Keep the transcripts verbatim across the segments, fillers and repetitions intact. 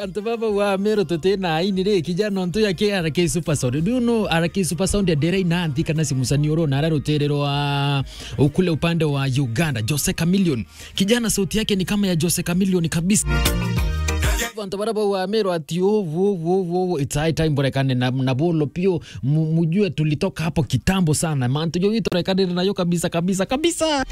Antu baba wa Meru tuti na aini ri, kijana ontu ya K R K Super Sound. Do you know R K Super Sound ya Derei na Anthi kana Simusani oro na ara rutere rwa ukule upande wa Uganda, Jose Chameleone. Kijana sauti yake ni kama ya Jose Chameleone kabisa. Antu bara baba wa Meru ati, "Oh, wo, wo, wo, wo, it's high time borekane na, na bolo pio, mu-, mujue tulitoka hapo kitambo sana." Mantu jo itorekane nayo kabisa, kabisa, kabisa.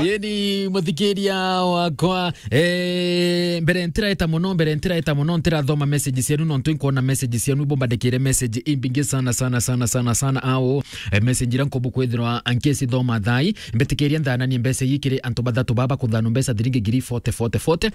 Yeni muthikiria wakwa, eh, mbere ntiraeta muno, mbere ntiraeta muno, ntirathoma message cienu, nontu inkwona message cienu, bombandikire message imbingi sana, sana, sana, sana, sana, ao, eh, message iria nkubu kwithirwa nkicithoma thai, mbitikiria nthananie mbeca ii kiri antu bathatu baba kuthanu mbeca thiringi ngiri forty, forty, forty.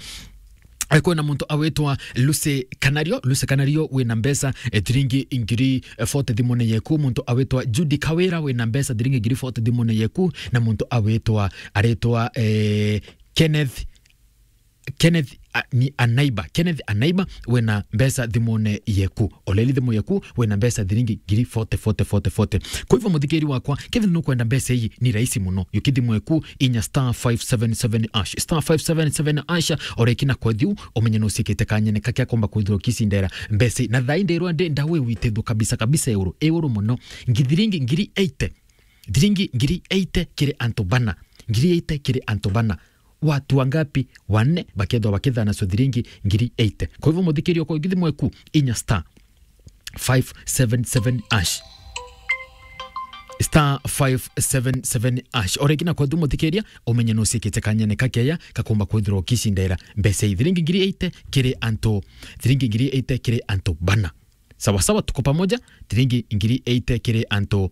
Eh, kwina muntu awitwa Lucy Kanario. Lucy Kanario wina mbeca, eh, thiringi ngiri forty thimune yeku. Muntu awitwa Judy Kawira wina mbeca thiringi ngiri forty thimune yeku. Na muntu awitwa, aritwa, eh, Kenneth, Kenneth, a, ni Anaiba. Kenneth Anaiba wina mbeca thimune yeku. Oleli thimu yeku wina mbeca thiringi ngiri forty, forty, forty, forty. Kwa hivyo, muthikiri wakwa, kethira nukwenda mbeca ii, ni rahisi muno. Yuki thimu yeku, inya star five seven seven hash. Star five seven seven hash, oreki na kwethiu, umenye nucikite kanyene kake akomba kwithirwa ukicindera mbeca ii. Na thaa ii ndirwa ndi ndawe witithua kabisa kabisa iguru, iguru muno. Ngi-, thiringi ngiri eighty. Thiringi ngiri eighty kiri antu bana. Ngiri eighty kiri antu bana. Watu wangapi? Wanne bakethwa bakithana so thiringi ngiri eighty. Kwa hivyo, muthikiri okwa, yuki thimu yeku, inya star five seven seven hash. Star five seven seven hash. Oreki na kwethu muthikiria, umenye nucikite kanyene kakeya, kakomba kwithirwa ukicindera mbeca ii. Thiringi ngiri eighty kiri antu, thiringi ngiri eighty kiri antu bana. Sawa sawa, tuko pamoja, thiringi ngiri eighty kiri antu,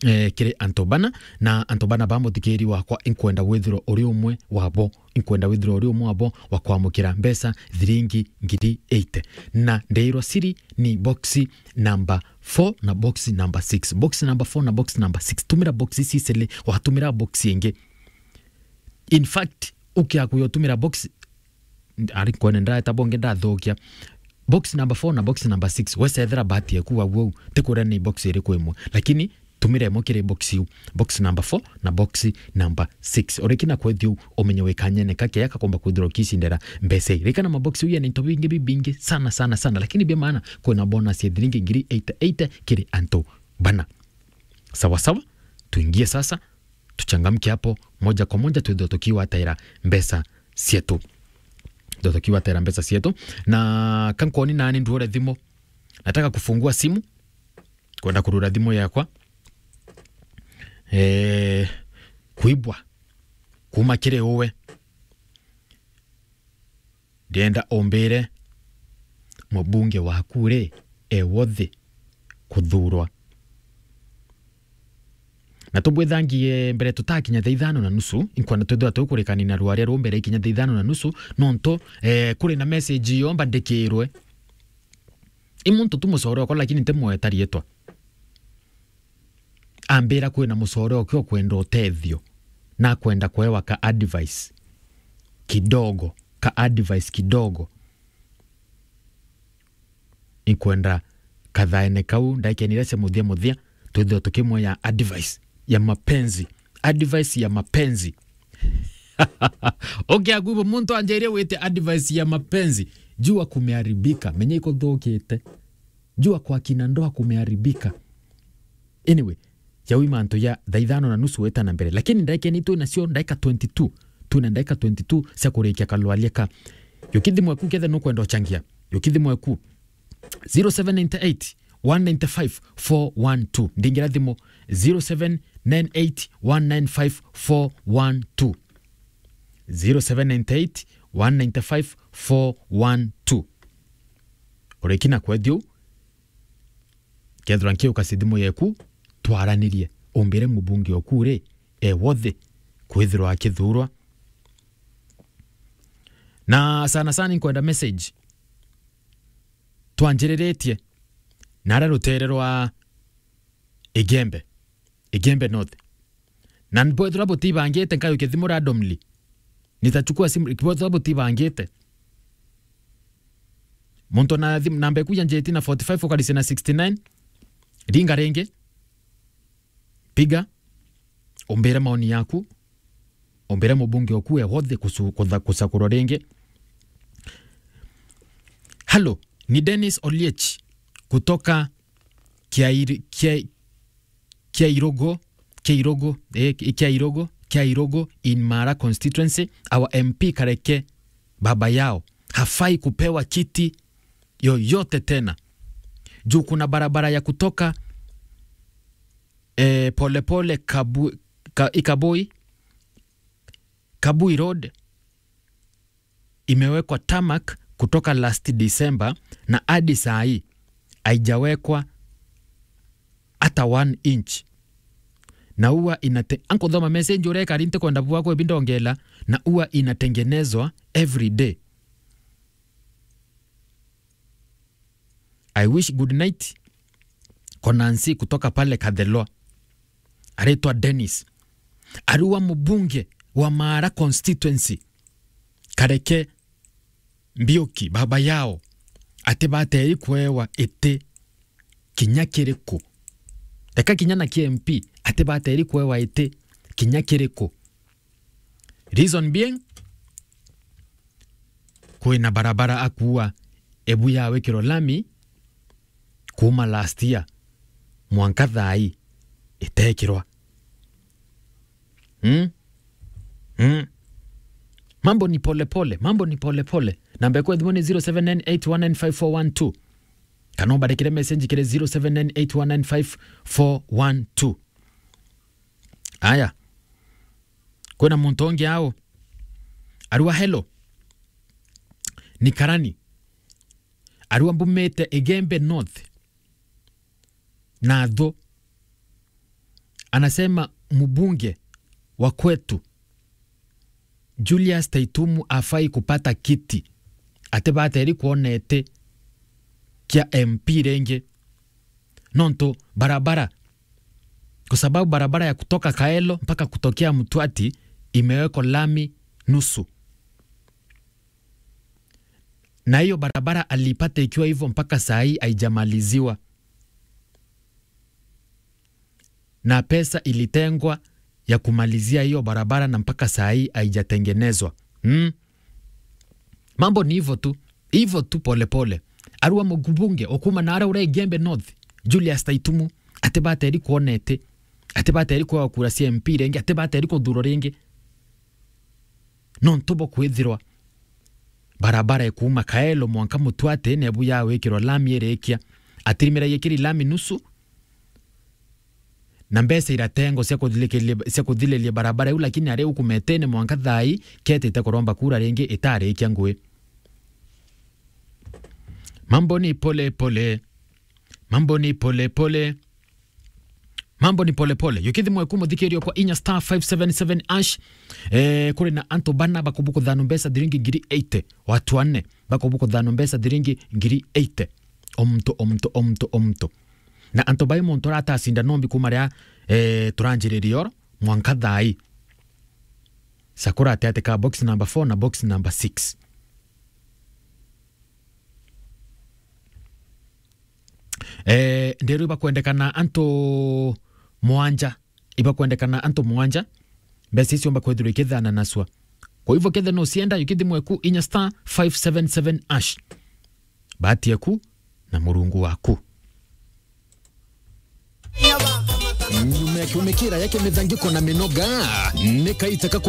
eh, kiri antu bana, na antu bana ba muthikiri wakwa, inkwenda withirwa uri umwe wabo. Inkwenda withirwa uri umwe wabo wa kwamukira mbeca thiringi ngiri eighty. Na ndeirwa siri ni box number four na box number six. Box number four na box number six. Tumira box ici cili, watumira box ingi. In fact, ukiakuya utumira box, ari kwene ndaeta bonge ndathukia. Box number four na box number six, wecethera bahati yaku wau wau, tikwira ni box iriku imwe. Lakini tumira imwe kiri box iu. Box number four na box number six. Oreki na kwethiu, umenye wikanyene kakeya kakomba kwithirwa ukicindera mbeca ii. Rikana mabox iu yena into bingi bibingi sana, sana, sana. Lakini bia maana, kwina bonus ya thiringi ngiri eighty eighty kiri antu bana. Sawa sawa, tuingie sasa, tuchangamke hapo moja kwa moja, twithwe tukiwataira mbeca cietu. Twithwe tukiwataira mbeca cietu. Na kankoni nani nduore thimu. Nataka kufungua simu. Kwenda kurura thimu yakwa. Eh, kuibwa. Kuma kiri uwe. Ndienda umbire mubunge waku ri, e worthy kuthurwa. Na tubwithangie mbere tutakinya thaa ithano na nusu, inkwenda twithirwa tukurekania na rwaria ruu mbere ikinya thaa ithano na nusu, nontu, eh, kuri na message iyo mbandikirwe. I muntu tu mucore okwa, lakini ntimweta rietwa. Ambira kwina mucore oke okwenda utethio, na akwenda kwewa ka advice kidogo, ka advice kidogo. Inkwenda kathaene kau, ndaikeni iria cia muthia muthia, twithirwa tukimwea advice ya mapenzi. Advice ya mapenzi. Okay, akuibo muntu anjairie wite advice ya mapenzi. Jua kumeharibika, menya ikuthukite. Jua kwa kina ndoa kumeharibika. Anyway, jau i mantu ja thaa ithano na nusu weta na mbere. Lakini ndaikeni twina cio ndaika twenty-two. Twina ndaika twenty-two cia kurikia kalwaria ka. Yuki thimu eku kethe nukwenda uchangia. Yuki thimu eku. Zero seven nine eight, one nine five, four one two. Ndingira thimu zero seven nine eight, one nine five, four one two. Zero seven nine eight, one nine five, four one two. Urikina kwethio, kethirwa nkiuka ci thimu yeku, twaranirie. Umbire mubunge oku ri, e worthy kwithirwa akithurwa. Na sana sana nkwenda message. Twanjiriritie na aria rutere rwa Igembe, Igembe North. Na bwethirwa butibangite, nkayukia thimu randomly. Nitachukua simu, bwethirwa butibangite. Muntu na thimu, namba eku ya njeti na forty-five ukarisia na sixty-nine. Ringa ringi. Piga. Umbire maoni yaku. Umbire mubunge oku e wothe kusu-, kutha-, kusakurwa ringi. Hello, ni Dennis Oliech kutoka Kiairi-, Kia-, Kiairogo, Kiairogo, eh, Kiairogo, Kiairogo in Mara constituency. Our M P Kareke baba yao hafai kupewa kiti yoyote tena. Juu kuna barabara ya kutoka, eh, Polepole Kabu-, Ka-, Ikaboi, Kabui Road imewekwa tarmac kutoka last December na hadi saa hii haijawekwa hata one inch. Na huwa inate-, ankuthoma message uria ikari ntikwenda bua kwebi ndongela, na huwa inatengenezwa every day. I wish good night. Konansi kutoka pale Kathelwa. Aretwa Dennis. Arua mubunge wa Mara constituency. Kareke Mbiuki, baba yao, ati bateri kuewa iti kinya kiriku. Reka kinya na ki M P, ati bateri kuewa iti kinya kiriku. Reason being, kwina barabara akuwa ebu yawikirwa lami kuma last year mwanka thaa ii itekirwa. Hmm? Hmm. Mambo ni pole pole, mambo ni pole pole. Namba ya thimu ni zero seven nine eight one nine five four one two. Kana ubandikire message kiri zero seven nine eight one nine five four one two. Aya. Kwina muntu ungi ao. Arua hello. Ni Karani. Arua mbumite Igembe North. Na tho. Anasema mbunge wa kwetu Julius Taitumu afai kupata kiti. Ati bateri kuona iti kia M P ringi. Nontu barabara, kwa sababu barabara ya kutoka Kaelo mpaka kutokea Mtwati imewekwa lami nusu. Na hiyo barabara alipata ikiwa hivyo mpaka saa hii haijamaliziwa. Na pesa ilitengwa ya kumalizia hiyo barabara na mpaka saa hii haijatengenezwa. Hmm? Mambo ni hivyo tu. Hivyo tu pole pole. Arua mbunge ukuma na ara ura Igembe North, Julius Taitumu, ati bateri kuona iti, ati bateri kuewa kura cia M P ringi, ati bateri kuthurwa ringi. Nontu bo kwithirwa barabara ikuuma Kaelo mwanka Mtwati nebu yawikirwa lami irikia. Atirimiragia kiri lami nusu, na mbeca iratengwa cia kuthilikiria-, cia kuthiliria barabara iu, lakini ari uku metene mwanka thaa ii ketite kuromba kura ringi itarikia ngui. Mambo ni pole pole. Mambo ni pole pole. Mambo ni pole pole. Yukithi mweku muthikirio kwa inya star five seven seven hash. Eh, kuri na antu bana bakubukuthano mbeca thiringi ngiri eighty. Watu anne bakubukuthano mbeca thiringi ngiri eighty. Omto, omto, omto, omto. Na antu bai muntu aratacinda nombi kuma ria, eh, turanjiriria oro mwanka thaa ii. Sakura ati ati ka box number four na box number six. Eh, nderu ibakwendekana antu mwanja. Ibakwendekana antu mwanja. Mbeca icio mbakwethirwa ikithana naswa. Kwa hivyo kethe no sienda, yukithi mweku inya star five seven seven hash. Bahati yaku na Murungu waku. Nyuma ya kiumikira ya kimithangiko na minoga, ni kaita ka